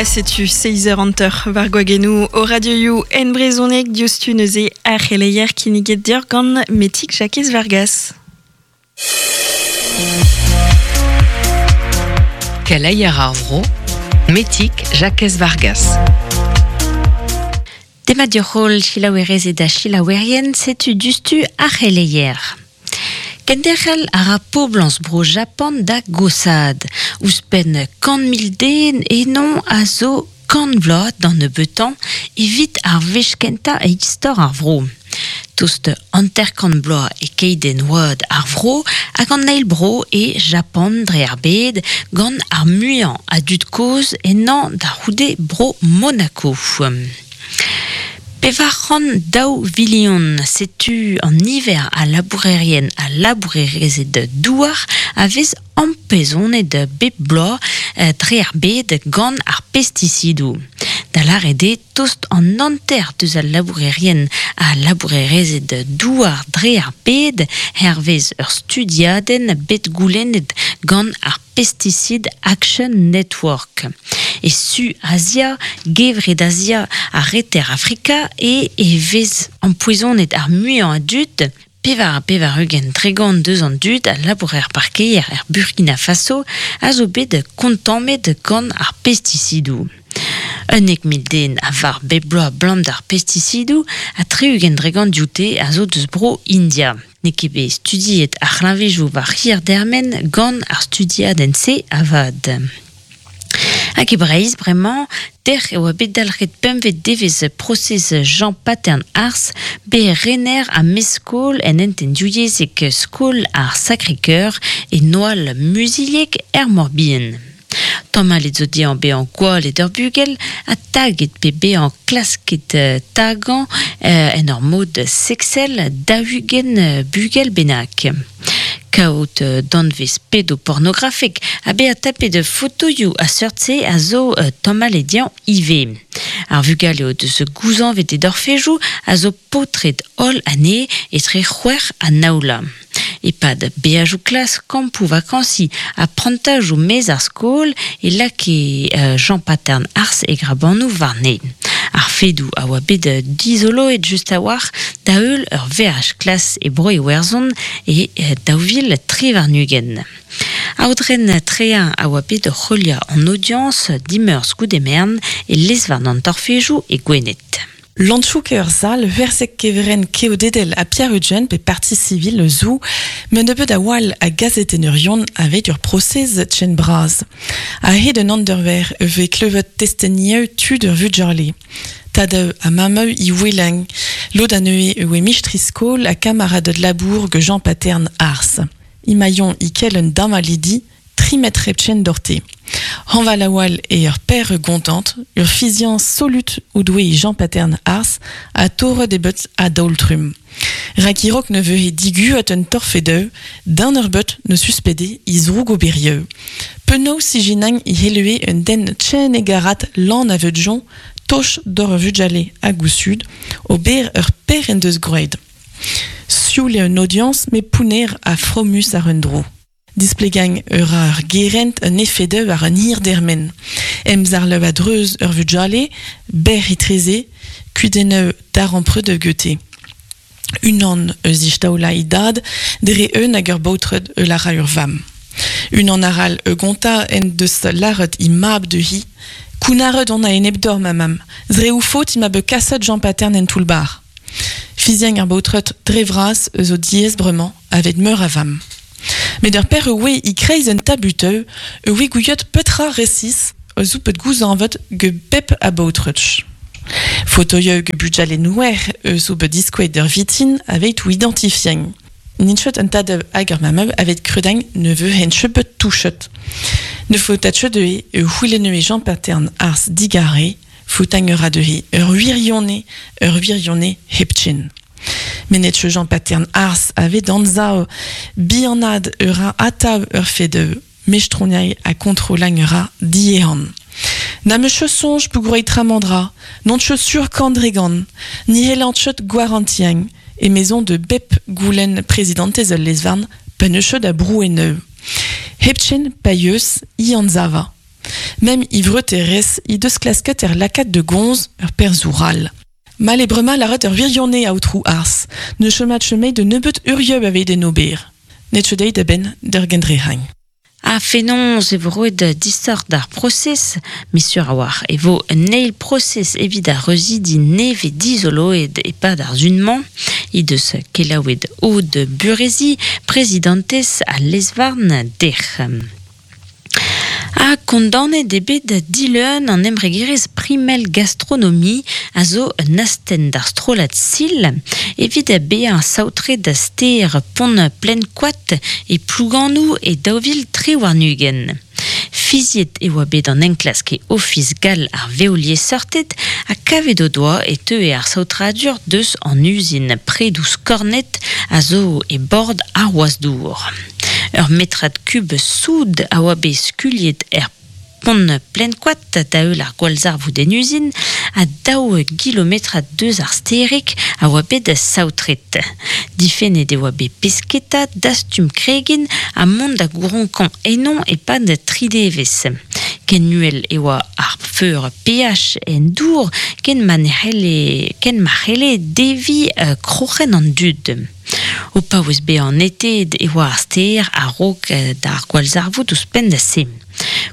Setu seizh eur hanter war gwagennoù o radioioù en brezhoneg diouzhtu neuze ar c'heleier kinniget deoc'h gant Metig Jakez Vargas. Keleier ar vro, Metig Jakez Vargas. Demat deoc'h holl selaouerezed ha selaouerien, setu diouzhtu ar c'heleier. Kenderc'hel a ra poblañs bro Japan da goshaat. Ouzhpenn 100.000 den eno a zo kant vloaz d'an nebeutañ evit ar wech kentañ e istor ar vro. Tost 50 bloaz e keidenn oad ar vro hag an eil bro e Japan dre ar bed gant ar muiañ a dud kozh ennañ da c'houde bro Monaco. 402 vilion, setu an niver a labourerien ha labourerezed douar a vez ampezonet bep bloaz dre ar bed gant ar pestisidoù. Da lâret eo tost an hanter deus al labourerien ha labourerezed douar dre ar bed, hervez ur studiadenn bet goulennet gant ar Pesticide Action Network. E Su Azia, Gevred Azia ha Reter Afrika e e vez ampoezonet ar muiañ a dud, 84 dregont deus an dud a labour er parkeier er Burkina Faso a zo bet kontammet gant ar pestisidoù. 11,000 den a varv bep bloaz 'blam d'ar pestisidoù ha 60 dregont dioute a zo deus bro India. N'eo ket bet studiet ar c'hleñvejoù war hir dermen gant ar studiadenn-se avat. Hag e Breizh bremañ, dec'h e oa bet dalc'het pempvet devezh prosez Jean Patern Ars, bet rener ha mestr-skol en hentenn divyezhek Skol ar Sacré-Cœur e Noal-Muzilheg er Mor-Bihan. Tamallet zo dezhañ bezañ gwallet ur bugel ha taget pe bezañ klasket tagañ en ur mod seksel 40 bugel bennak. Kaout danvez pedopornografek ha bezañ tapet fotoioù a seurt-se a zo tamallet dezhañ ivez. Ar vugale o deus gouzañvet e dorfejoù a zo paotred holl anezhe etre c'hwec'h ha nav vloaz. E-pad beajoù klas, kampoù vakañsiñ ha prantajoù maez ar skol e lakae Jean Patern Ars e grabanoù warne. Ar fedoù a oa bet dizoloet just a-walc'h da-heul ur veaj klas e Bro-Iwerzhon e 2023. Aodren Treañ a oa bet oc'h heuliañ an audiañs dimeurzh goude-merenn e lez-varn an torfejoù e Gwened. Lantchouk eo ur sal werzhek kevrenn keodedel ha Pierre-Eugène pe parti civil zo met nebeut a-walc'h a gazetennerion aveit ur prosez ken bras. A-hed un anderver e vez klevet testenioù tud ur vugale. Tadoù ha mammoù e ouelent. Lod anezhe e oe mistri-skol ha kamaraded labour gant Jean Patern Ars. Emañ e-kel un damallidi Tri metr hepken doc'hte. Hañval a-walh eo ur paer gontant, ur fiziañs solut o doe Jean-Patern Ars ha torret eo bet a-daol-trumm. Rak e-raok ne vehe diguet un torfedeu, d'un ur beut ne suspede e zrougoberieu. Penaos ijinañ e c'hellehe un den chen hegarat lan a veudjon, toch d'hor ur vugale hag o zud, ober ur per en deus gwraet. Sioul eo un audiañs met pounner ha fromus àr un dro. Displegañ a ra ar gerent un efed war un hir dermen. Emzarlev a-dreuz ur vugale, berr etreze, kudennoù darempred gete. Unan eus istaolañ e dad dre un hag ur baotred eus a ra ur vamm. Unan arall e gontañ en deus lâret he mab dezhi Kounnaret on a-enep deoc'h ma mamm. Dre ho faot emañ bet kaset Jean-Patern en toull-bac'h. Fiziañ ar baotred dre vras eus o diaes bremañ aveit meur a vamm. Met ur per oe e-kreiz un tabuteu e oe gouiet petra resis a zo bet gouzañvet get bep a baotred. Fotoioù get bugale nouer eus zo bet diskouezet d'ur vitin aveit o identifiañ. N'int ket un tad hag ur mamm aveit kredañ ne vehent ket bet touchet. Ne faota ket dezhe e c'houlenneue Jean-Patern Ars digare Foutañ a ra dezhe ur wirionez, ur wirionez hepken. Mennet Jean Patern Ars a vez d'anzav bihanaat ur ra atav ur fed mestroniañ ha kontrollañ a ra diehan. Na 'm eus ket soñj peogwir tramandra, n'on ket sur kant-dre-gant, ni c'hellan ket gwarantiañ, emezoñ da bep goulenn prezidantez ul lez-varn pa n'eus ket a brouennoù. Hepken pa yeus, i anzava. Mem i vreuterez i deus klasket er lakat de gonz ur perzoural. Mal e brema laret ur virionne aotrou ars, ne chemat chemei de nebeut urieub aveit en ober. Net chedei da ben der gendrehain. A fenons e vo roet distor d'ar procès, mesur a war, e vo un eil procès evit ar reuzidi neve dizoloed e pad ar zunman, i deus kelaouet Aude Burezi, prezidentez a lezvarn der. A kondanet eo bet dileun an embregerezh Primel Gastronomie a zo un astenn d'ar strollad Sil evit bezañ saotret da stêr Pont Plenkoad e Plouganoù e 2023. Fiziet e oa bet an enklask e Ofis gall ar veoliesseurted ha kavet o doa e teue ar saotradur deus an uzin predoù skornet a zo e bord ar wazh-dour. Ur metrad kub soud a oa bet skuilhet er pont Plenkoad da heul ar gwallzarvoud en uzin ha daou gilometrad deus ar stêrig a oa bet saotret. Difennet e oa bet pesketa, dastum kregin ha mont da gouronkañ ennañ e-pad tri devezh. Ken uhel e oa ar feur pH en dour ken ma ne c'helle ken ma c'helle deviñ kroc'hen an dud. O paouez bezañ neteet e oa ar stêr a-raok d'ar gwallzarvoud ouzhpenn da se.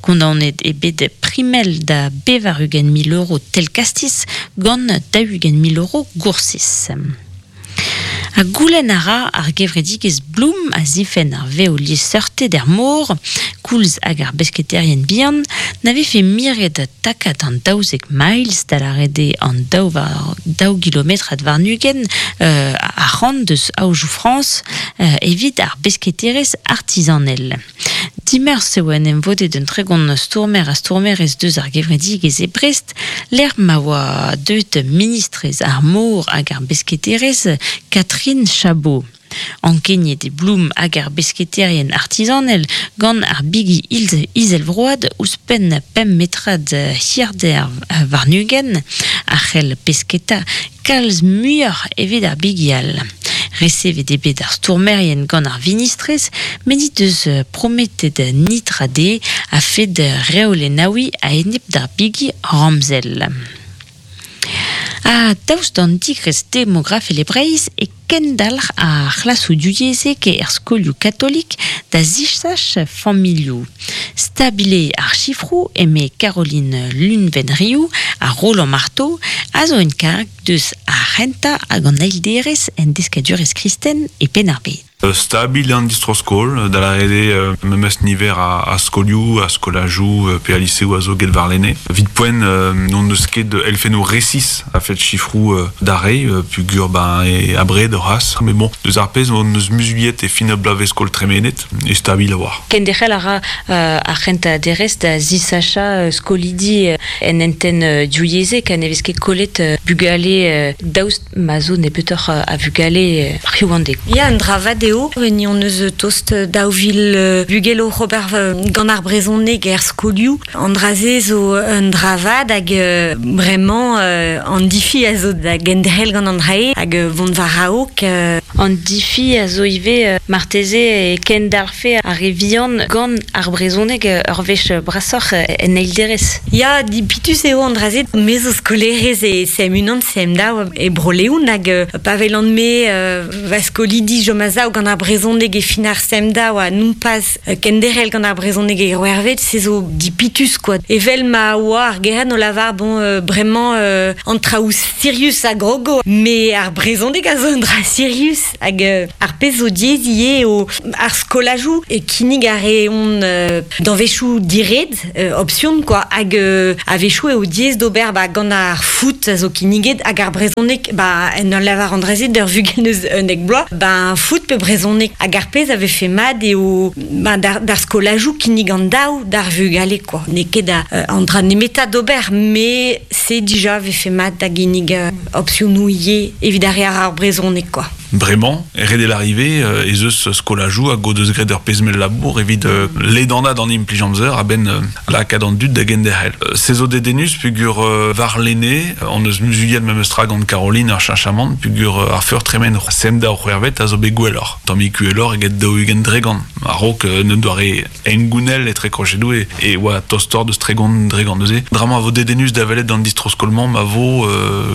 Kondaonet eo bet Primel da 80 000 euro tell-kastiz gant 40 000 euro goursez. Ha goulenn a ra ar gevredigezh Bloom a zifenn ar vev-liesseurted er mor, koulz hag ar besketaerien bihan, na vefe miret takad an 12 miles da lâret eo an daou war daou gilometrad warn-ugent ac'hann deus aojoù Frañs evit ar besketerezh artizanel. Dimeurzh eo en em vodet un 30 stourmer ha stourmerez deus ar gevredigezh e Brest, lec'h ma oa deuet ministrez ar mor hag ar besketerezh Catherine Chabot. Ankeniet eo Bloom hag ar besketaerien artizanel gant ar bigi izelvroad ouzhpenn pemp metrad hirder warn-ugent a c'hell pesketa kalz muioc'h evit ar bigi all. Resevet eo bet ar stourmerien gant ar vinistrez met he deus prometet nitra dezhe a-fet reolennaouiñ a-enep d'ar bigi ramzel. Ha daoust d'an digresk demografel e Breizh e kendalc'h ar c'hlasoù divyezhek er skolioù katolik da zisach familhoù. Stabil eo ar sifroù eme Caroline Lunven-Riou ha Roland Marteau a zo en karg deus ar c'hentañ hag an eil derez en deskadurezh kristen e Penn-ar-Bed. Stabil an distro-skol, da lâret eo memes niver a skolioù, a skolajoù pe a liseoù a zo get warlene. Evit poent n'hon eus ket elfennoù resis a-fet sifroù da reiñ peogwir ben e abred c'hoazh. Met bon, deus ar pezh hon eus muzuliet e fin ar bloavezh-skol tremenet e stabil a-walc'h. Kenderc'hel a ra ar c'hentañ derez da zisachañ skolidi en hentenn divyezhek ha ne vez ket kollet bugale daoust ma zo nebeutoc'h a vugale hiziv an deiz. Ya, un dra vat eo. Ni hon eus tost 2000 bugel oc'h ober gant ar brezhoneg er skolioù. An dra-se zo un dra vat hag bremañ an difi a zo da genderc'hel gant an dra-se hag vont war-raok. An difi a zo ivez marteze e kendalc'hfe ar re vihan gant ar brezhoneg ur wech brasoc'h en eil derez. Ya, dipitus eo an dra-se. Me zo skolaerez e CM1, CM2 e Bro-Leon hag pa welan-me va skolidi chom a-sav gant ar brezhoneg e fin ar CM2 ha non pas kenderc'hel gant ar brezhoneg e c'hwec'hvet, se zo dipitus quoi. Evel ma oa ar gerent o lavar bon bremañ an traoù sirius a grogo, met ar brezhoneg a zo un dra sirius hag ar pezh zo diaes ivez eo ar skolajoù e kinnig a reont danvezioù diret, option quoi, hag a-wechoù eo diaes d'ober ba gant ar foot a zo kinniget hag ar brezhoneg ba en ur lavar an dra-se d'ur vugel eus 11 bloaz, ba foot pe brezhoneg hag ar pezh a vefe mat eo ba d'ar skolajoù kinnig an daou d'ar vugale quoi. N'eo ket an dra nemetañ d'ober, met se dija vefe mat da ginnig opsionoù ivez evit ar re a ra ar brezhoneg quoi. Bremañ, ret l'arrivée, ez eus skolajou hag o deus graet ur pezh-mell labour evit ledanat an implij amzer a-benn lakaat an dud da genderc'hel. Se zo dedennus peogwir warlene hon eus muzuliet memes tra gant Caroline ar cheñchamant peogwir ar feur tremen CM2 c'hwec'hvet a zo bet gwelloc'h. Tammig uheloc'h eget 40%. A-raok un doare hengounel etre krochedoù e oa tostoc'h deus 30% neuze. Dra-mañ a vo dedennus da welet an distro-skol-mañ ma vo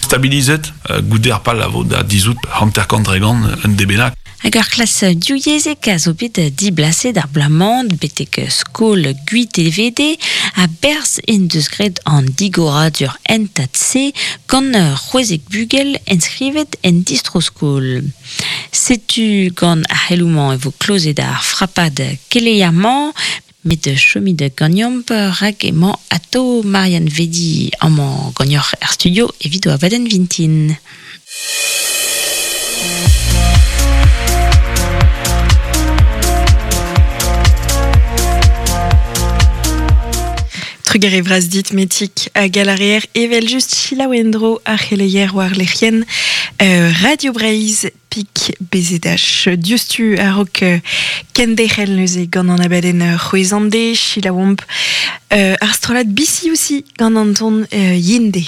stabilizet goude ar pal a vo da dizhout 50% un de bennak. Hag ur klas divyezhek a zo bet diblaset ar bloaz-mañ betek skol Gwitevede ha berzh en deus graet an digoradur hentad-se gant c'hwezek bugel enskrivet en distro-skol. Setu gant ar c'heloù-mañ e vo klozet ar frapad keleier-mañ, met chomit ganeomp rak emañ atao Marianne Vedi amañ ganeoc'h er studio evit o abadenn vintin. Trugarez vras dit Metik hag a reer evel just selaou en-dro ar c'heleier war lec'hienn Radio Breizh pik BZH diouzhtu a-raok kenderc'hel neuze gant an abadenn c'hwezhande selaouomp ar strollad BCUC gant an ton Yinde.